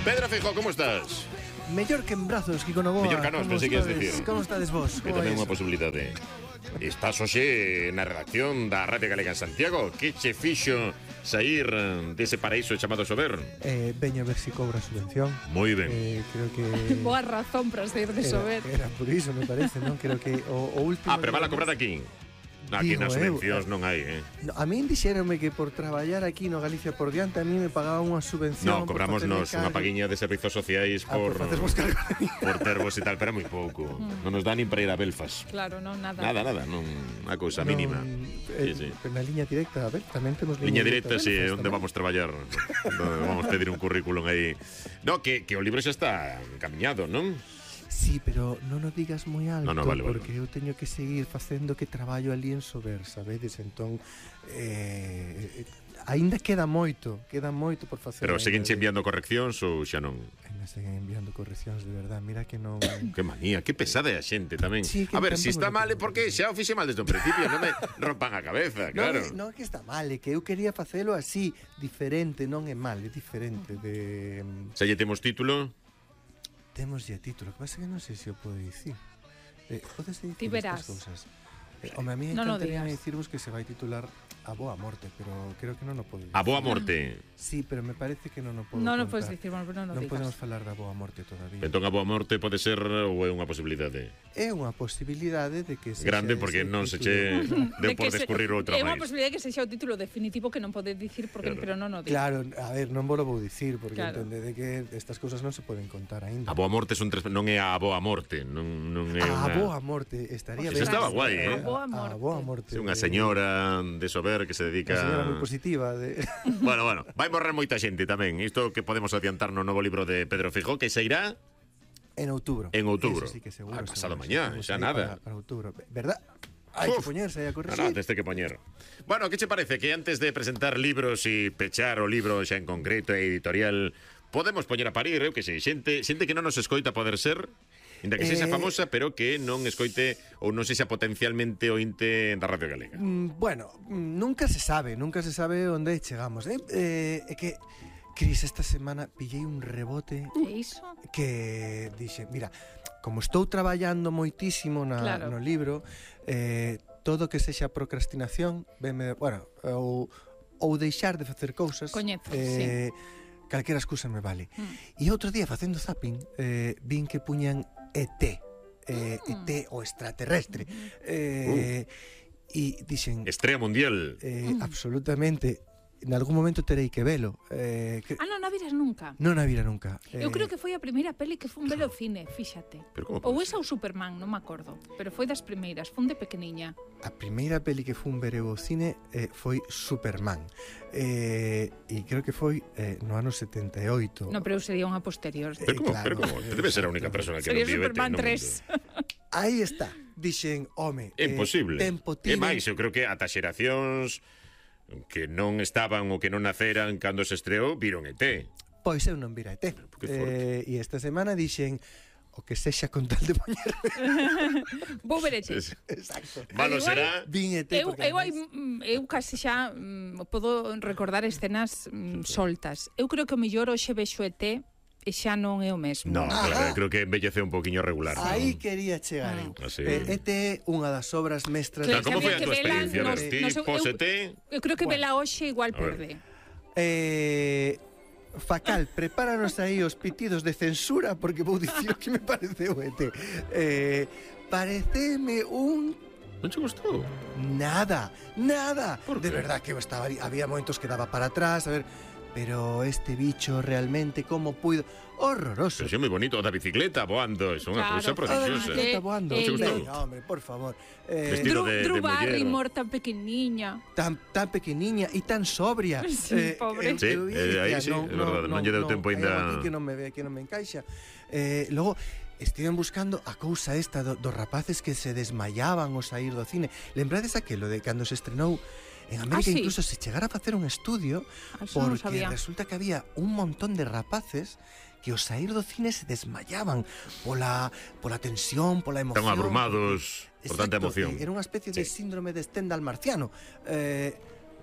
Pedro Feijóo, como estás? Mellor que en brazos, Kiko Novoa. Mellor que a nós, pensei que ias dicir. Como estades vos? Que tamén é unha posibilidade. Estás hoxe na redacción da Radio Galega en Santiago. Que che fixo sair dese paraíso chamado Sober? Veño a ver se cobra subvención. Moi ben. Creo que... Boa razón para sair de Sober. Era por iso, me parece, non? Creo que o último... Pero van a cobrar aquí. Aquí nas subvencións non hai, No, a min dixéronme que por traballar aquí no Galicia por diante a mí me pagaban unha subvención. No, cobrámonos unha paguiña de servizos sociais por tervos e tal, pero moi pouco. Non nos dá nin para ir a Belfast. Claro, non, nada. Nada, non, unha cousa mínima. Sí. Na liña directa, a ver, tamén temos liña directa, si, onde vamos traballar. Vamos pedir un currículum aí. No, que o libro xa está camiñado, non? Sí, pero non o digas moi alto, vale. Porque eu teño que seguir facendo que traballo ali en Sober, sabedes? Entón, aínda queda moito por facer. Pero seguen che enviando correccións ou xa non? Ainda seguen enviando correccións, de verdad, mira que non... Que manía, que pesada é a xente tamén. Sí, a ver, se está mal é porque xa o fixe mal desde o principio, non me rompan a cabeza, claro. Non é que está mal, é que eu quería facelo así, diferente, non é mal, é diferente de... Xa lle temos título? Temos ya título, que pasa que non sei se o podo dicir. Podes dicir estas cousas? Home, a mí encantaría dicirvos que se vai titular A Boa Morte, pero creo que non o podo dicir. A Boa Morte? Sí, pero me parece que non o podo contar. Non o podes dicir, bueno, pero non o digas. Non podemos falar da Boa Morte todavía. Entón a Boa Morte pode ser ou é unha posibilidade? É unha posibilidade de que... Grande, porque non se che deu por descurrir outra máis. É unha posibilidade que sexa o título definitivo que non podes dicir, pero non o digas. Claro, a ver, non vou dicir, porque entendede que estas cousas non se poden contar aínda. A Boa Morte non é a Boa Morte, non é unha... A Boa Morte, estaría ben. Eso estaba guai, A Boa Morte. É unha señora de Sober que se dedica... Unha señora moi positiva. Bueno, vai morrer moita xente tamén. Isto que podemos adiantar no novo libro de Pedro Feijóo, que sairá... En outubro. En outubro. Eso sí que seguro. Pasado mañá, xa nada. Para outubro, verdad? Hai que poñerse aí a corregir. No, teste que poñer. Bueno, que che parece que antes de presentar libros e pechar o libro xa en concreto e editorial, podemos poñer a parir, eu que sei, xente que non nos escoita poder ser, inda que sexa famosa, pero que non escoite ou non sexa potencialmente ointe da Radio Galega. Bueno, nunca se sabe onde chegamos. É que Cris, esta semana pillei un rebote que dixe, mira, como estou traballando moitísimo no libro, todo que sexa procrastinación, ou deixar de facer cousas, calquera excusa me vale. E outro día, facendo zapping, vin que puñan ET, ET o extraterrestre. E dixen... Estrella mundial. Absolutamente. En algún momento terei que velo. Non a viras nunca. Non a vira nunca. Eu creo que foi a primeira peli que fun ver ao cine, fíxate. Ou esa ou Superman, non me acordo. Pero foi das primeiras, fun de pequeniña. A primeira peli que fun ver ao cine foi Superman. E creo que foi no ano 78. Non, pero eu sería unha posterior. Pero como? Debe ser a única persona que non vive Superman 3. Aí está. Dixen, home, imposible. Tempo E máis, eu creo que ata xeracións que non estaban ou que non naceran cando se estreou, viron ET. Pois eu non vira ET. E esta semana dixen o que sexa con tal de poñer. Vou ver ET. Exacto. Malo será. Vin ET. Eu casi xa podo recordar escenas soltas. Eu creo que o mellor hoxe vexo ET e xa non é o mesmo. No, claro, creo que embellece un poquinho regular. Aí quería chegar eu. ET é unha das obras mestras. Como foi a tua experiencia? Pos-ET? Eu creo que vela hoxe igual perde. Facal, prepáranos aí os pitidos de censura, porque vou dicir o que me pareceu ET. Pareceme un... Non che gustou? Nada. De verdad que eu estaba ali, había momentos que daba para atrás, a ver... Pero este bicho realmente como puido... Horroroso. Pero é moi bonito, da bicicleta voando, é unha cousa prodigiosa. Da bicicleta voando. Hombre, por favor. Vestido de Drew Barrymore tan pequeniña. Tan pequeniña e tan sobria. Sí, pobre. Sí, aí sí, é verdade, non lle deu tempo ainda. Que non me encaixa. Logo, estiven buscando a cousa esta dos rapaces que se desmayaban ao sair do cine. Lembrades aquelo de cando se estrenou en América, incluso se chegara a facer un estudio, porque resulta que había un montón de rapaces que ao sair do cine se desmayaban pola tensión, pola emoción. Están abrumados por tanta emoción. Era unha especie de síndrome de Stendhal marciano.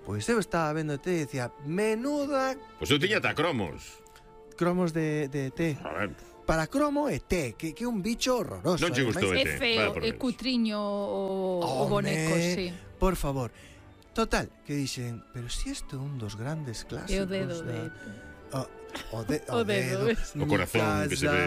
Pois eu estaba vendo e decía, menuda... Pois eu tiña ata cromos. cromos de ET. A ver, Para cromo ET, que é un bicho horroroso. non che gustou É ET. feo, vaya por é Deus. cutriño o boneco, sí. Por favor. Total, que dixen, pero si isto é un dos grandes clásicos. É o dedo de... O O dedo, ves? O corazón que se ve...